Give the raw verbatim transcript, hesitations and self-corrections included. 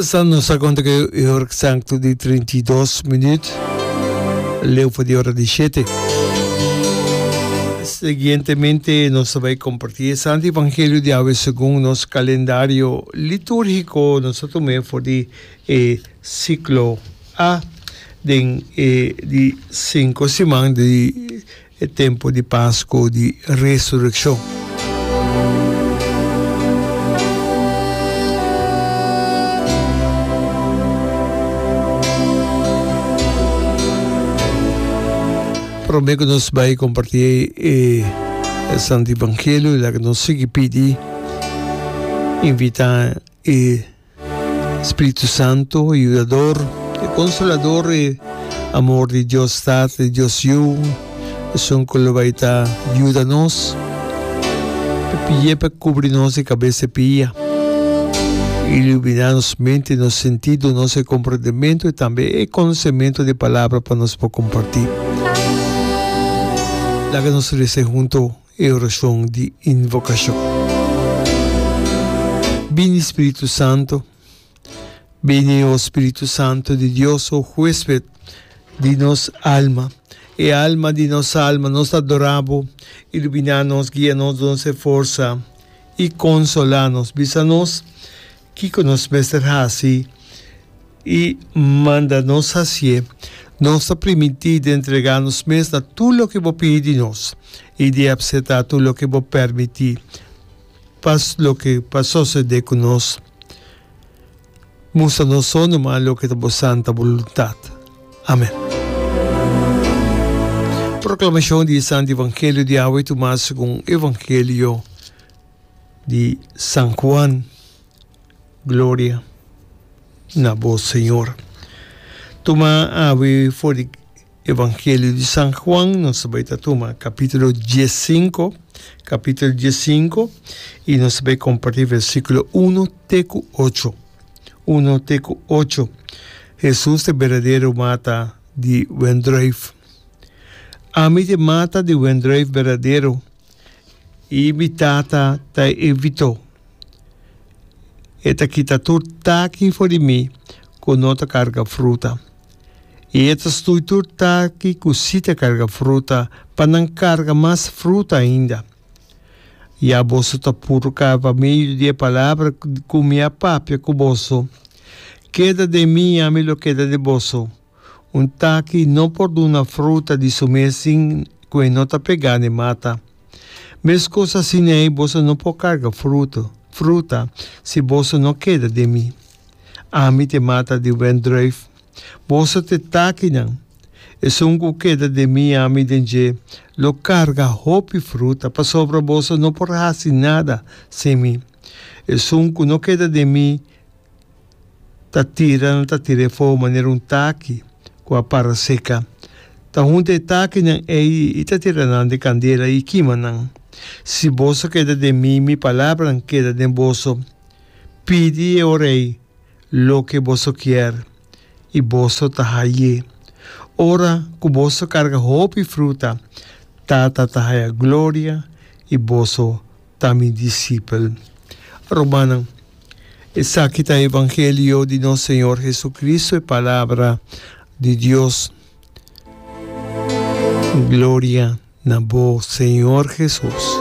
Sa nos a konta ku e ora eksakto di trinta i dos minüt, leu for di ora di shete. Siguientemente nos ta bai kompartí e Santo Evangelio di awe segun nos kalendario litúrgiko. Nos ta tum'é for di e siklo A den e di sinku siman di e tempu di Pasku di Resurekshon. Promé ku nos bai kompartí e Santo Evangelio, laga nos sigui pidi, invitá e Spiritu Santo, e Yudador, e Consolador, e amor di Dios Tata i Dios Yu, esun ku lo bai ta yuda nos, pa pi'é pa kubri nos di kabes te pia, iluminá nos mente, nos sentido, nos e komprendementu i tambe e konosementu di Palabra pa nos por kompartí. Laga nos resa hunto e orashon di invokashon. Bini Spiritu Santo, bini o Spiritu Santo di Dios, o huesped di nos alma, e alma di nos alma, nos ta adorá bo, iluminá nos, guia nos, duna nos e forsa i konsolá nos. Bisa nos kiko nos mester hasi i manda nos hasié. Nos ta primintí di entregá nos mes na tur loke bo pidi di nos i di apseptá tur loke bo permití pa loke pa sosodé ku nos. Mustra nos so numa loke ta bo santa boluntat. Amen. Proklamashon di e Santu Evangelio di awe tumá segun Evangelio di San Juan. Gloria na bo, Señor. Tuma awe for di Evangelio di San Juan, nos ta bai ta tuma capítulo diescinco, capítulo diescinco, y nos ta bai comparti versículo uno te cu ocho. Uno te cu ocho. Jesús ta e berdadero mata di wendruif. Ami ta e mata di wendruif berdadero, y mi Tata ta e vitó. E ta kita tur taki for di mi ku no ta karga fruta, i e ta stui tur taki ku sí ta karga fruta pa nan karga mas fruta ainda. Ya boso ta puru kaba pa medio di e palabra ku mi a papia ku boso. Keda den mi i ami lo keda den boso. Un taki no por duna fruta di su mes sin ku e no ta pegá n'e mata. Meskos asina ei boso no por karga fruto, fruta, si boso no keda den mi. Ami ta e mata di wendruif, boso ta e takinan. Esun ku keda den mi i ami den dje lo karga hopi fruta, pasobra boso no por hasi nada sin mi. Esun ku no keda den mi, Ta tira nan ta tira e fogo manera un taki ku a para seka. Ta hunta e takinan ei i ta tira nan den kandela i kima nan. Si boso keda den mi i mi palabranan keda den boso, pidi e ora ei loke boso kier i boso ta haye. Ora ku boso karga hopi fruta, Tata ta haya gloria i boso ta mi disipel. Rumannan, esaki ta evangelio di nos Señor Jesucristo, e palabra di Dios. Gloria na bo, Señor Jesus.